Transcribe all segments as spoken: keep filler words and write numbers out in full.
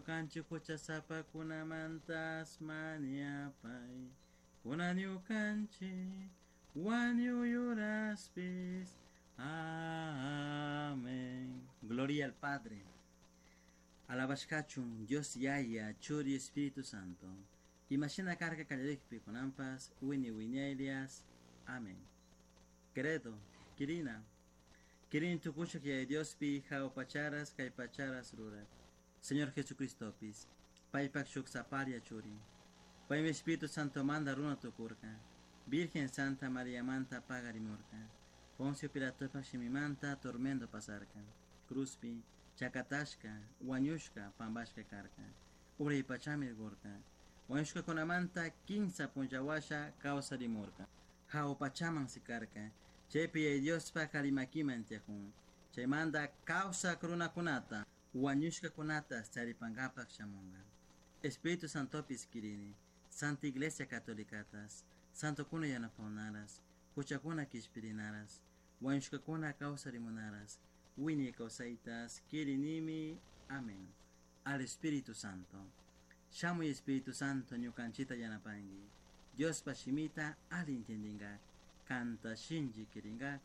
Ñukanchik huchasapakunamantas mañapai. Kunan ñukanchik wañuy. Amén. Gloria al Padre. Alabashkachun Dios Yaya, Churi Espíritu Santo. Imashina karka kallarikpi kunanpas wini wiñaylias. Amén. Credo, Kirina. Kirin tukushak Yaya Diospi jao pacharas kay pacharas rurak. Señor Jesucristopis, paypak shuk saparia churi. Paymi Espíritu Santo manda runa tukurka. Virgen Santa María manta pagarimurka. Poncio Pilatopak shimimanta tormento pasarka. Cruzpi, chakatashka, wañushka, pambashka karka. Uray pachami gorka. Wañushkakunamanta kinsa punllawasha kawsarimurka. Jao pachaman sikarka. Chaypi Yaya Diospak karimakiman tiyakun. Chaymanta kawsak runakunata, wañushkakunata charipankapak shamunka. Espíritu Santopis kirini, Santa Iglesia Catolicatas, Santokuna yanapawnaras, huchakuna kishpirinaras, wañushkakuna kawsarimunaras, wiñay kawsaytas, kirinimi. Amén. Al Espíritu Santo. Shamuy Espíritu Santo ñukanchita yanapanki. Diospa shimita ali intendingak, kanta shinchi kiringak,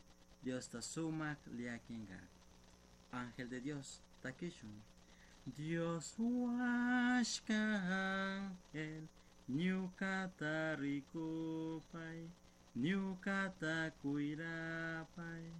Diosta sumak llakinkak. Ángel de Dios, takishun. Dios huashka ángel, ñukata rikupai, ñukata cuirapai.